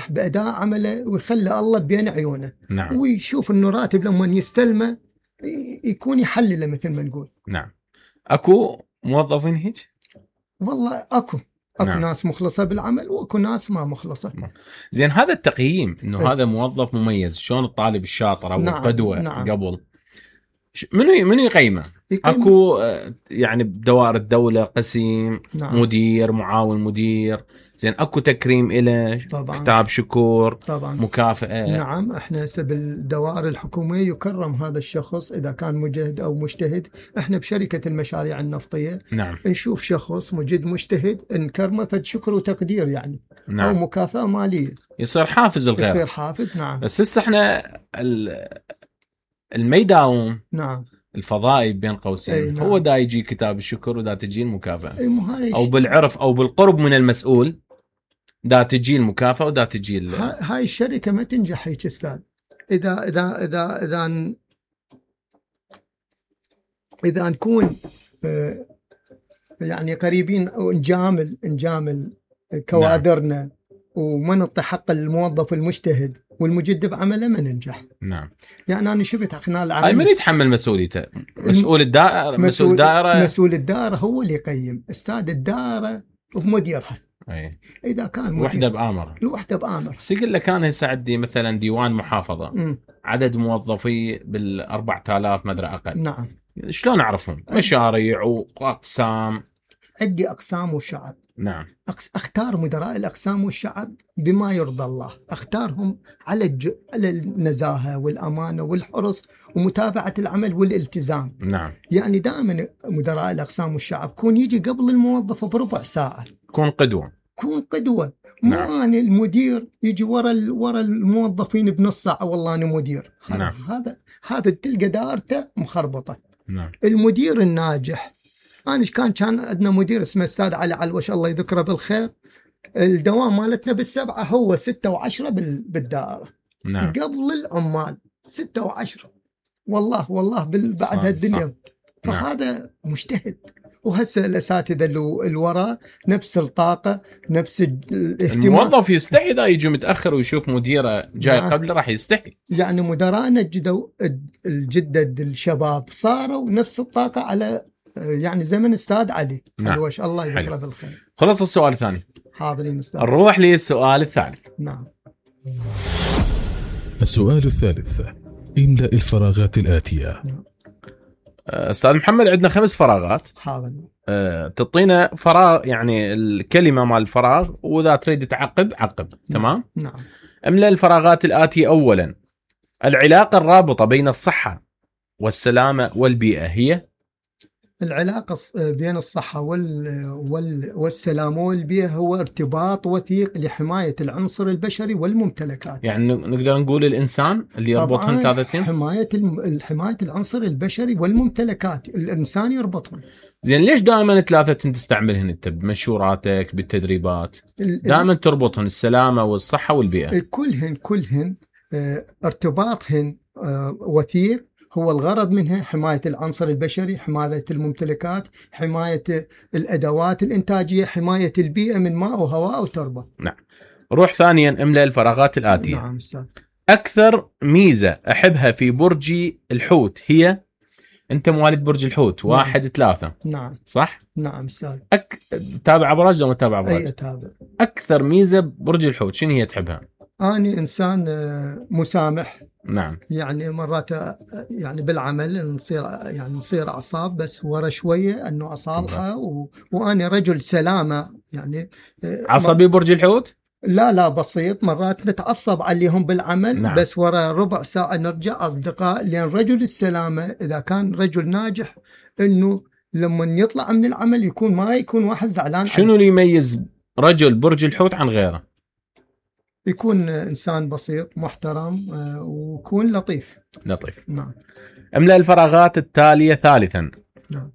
يفرح بأداء عمله ويخلي الله بين عيونه. نعم. ويشوف إنه راتب لما يستلمه يكون يحلله مثل ما نقول. نعم. أكو موظفين هيك؟ والله أكو نعم. ناس مخلصة بالعمل وأكو ناس ما مخلصة. زين، هذا التقييم إنه هذا موظف مميز، شلون الطالب الشاطر أو القدوة قبل منو يقيمه؟ أكو يعني بدوائر الدولة قسيم، مدير، معاون مدير. زين، أكو تكريم إله، كتاب شكر، طبعا مكافأة. نعم، احنا هسه بالدوائر الحكومية يكرم هذا الشخص إذا كان مجتهد أو مجتهد. احنا بشركة المشاريع النفطية نعم. نشوف شخص مجد مجتهد نكرمه فد شكر وتقدير يعني. نعم. أو مكافأة مالية، يصير حافز الغير، يصير حافز. نعم. بس هسه احنا الميداوم نعم الفضائي بين قوسين، نعم. هو دا يجي كتاب الشكر ودا تجي المكافأة، أو بالعرف أو بالقرب من المسؤول دا تجي المكافأة ودا تجي هاي الشركة ما تنجح هيك استاذ إذا نكون يعني قريبين ونجامل كوادرنا. نعم. وما نعطي حق الموظف المجتهد والمجد بعمله ما ننجح. نعم. يعني أنا شفت خلال العمل. هاي من يتحمل مسؤوليته؟ مسؤول الدائرة. مسؤول الدائرة هو اللي يقيم. استاذ الدائرة ومديرها. أي. إذا كان وحدة بآمر. الوحدة بآمر. سيقول لك أنا هسه عندي مثلا ديوان محافظة. عدد موظفي 4000 مدري أقل. نعم. شلون أعرفهم؟ مشاريع وأقسام. عندي أقسام والشعب. نعم. أختار مدراء الأقسام والشعب بما يرضى الله. أختارهم على النزاهة والأمانة والحرص ومتابعة العمل والالتزام. نعم. يعني دائما مدراء الأقسام والشعب كون يجي قبل الموظف بربع ساعة. كون قدوة. نعم. مو أنا المدير يجي ورا الموظفين بنص ساعة والله أنا مدير. نعم. هذا تلقى دارته مخربطة. نعم. المدير الناجح، أنا كان عندنا مدير اسمه أستاذ علي علوش الله يذكره بالخير. الدوام مالتنا 7 هو 6 و10 بالدائرة. نعم. قبل العمال 6 و10 والله بعد هالدنيا. فهذا مجتهد. وهسه الأساتذة اللي وراء نفس الطاقة نفس الاهتمام. الموظف يستحي إذا يجي متأخر ويشوف مديره جاي قبله راح يستحي. يعني مدراءنا الجدد الشباب صاروا نفس الطاقة على يعني زمن أستاذ علي. نعم. علوش الله يذكره بالخير. خلص السؤال الثاني. حاضرين أستاذ. نروح للسؤال الثالث. نعم. السؤال الثالث: املأ الفراغات الآتية. أستاذ محمد، عندنا 5 فراغات. حاضر. تعطينا فراغ يعني الكلمة مال الفراغ، وإذا تريد تعقب عقب. تمام؟ نعم. املأ الفراغات الآتية. أولا، العلاقة الرابطة بين الصحة والسلامة والبيئة هي؟ العلاقة بين الصحة والسلامة والبيئة هو ارتباط وثيق لحماية العنصر البشري والممتلكات. يعني نقدر نقول الإنسان اللي يربطهم ثلاثتين. حماية العنصر البشري والممتلكات، الإنسان يربطهم. زين، ليش دائما 3 تستعملهن انت بمشوراتك بالتدريبات؟ دائما تربطهن السلامة والصحة والبيئة. كلهن ارتباطهن وثيق. هو الغرض منها حماية العنصر البشري، حماية الممتلكات، حماية الأدوات الإنتاجية، حماية البيئة من ماء وهواء وتربة. نعم. روح ثانيا، املأ الفراغات الآتية. نعم أستاذ. أكثر ميزة أحبها في برج الحوت هي؟ أنت مواليد برج الحوت. 1-3. نعم. صح؟ نعم أستاذ. تابع أبراج لو ما تابع أبراج؟ أي أتابع. أكثر ميزة برج الحوت شنو هي تحبها؟ أنا إنسان مسامح. نعم. يعني مرات يعني بالعمل نصير أعصاب، بس ورا شوية أنه أصالحه وأنا رجل سلامة يعني. عصبي برج الحوت؟ لا بسيط. مرات نتعصب عليهم بالعمل. نعم. بس ورا ربع ساعة نرجع أصدقاء. لأن رجل السلامة إذا كان رجل ناجح إنه لما يطلع من العمل ما يكون واحد زعلان. شنو اللي يميز رجل برج الحوت عن غيره؟ يكون إنسان بسيط محترم ويكون لطيف. نعم. املأ الفراغات التالية. ثالثا، نعم.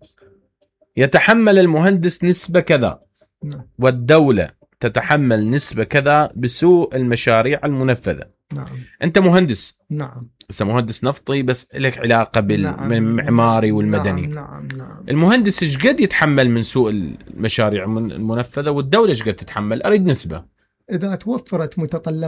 يتحمل المهندس نسبة كذا. نعم. والدولة تتحمل نسبة كذا بسوء المشاريع المنفذة. نعم. أنت مهندس. نعم. بس مهندس نفطي، بس لك علاقة بالمعماري والمدني. نعم. المهندس ايش قد يتحمل من سوء المشاريع المنفذة، والدولة ايش قد تتحمل؟ أريد نسبة. إذا توفرت متطلبات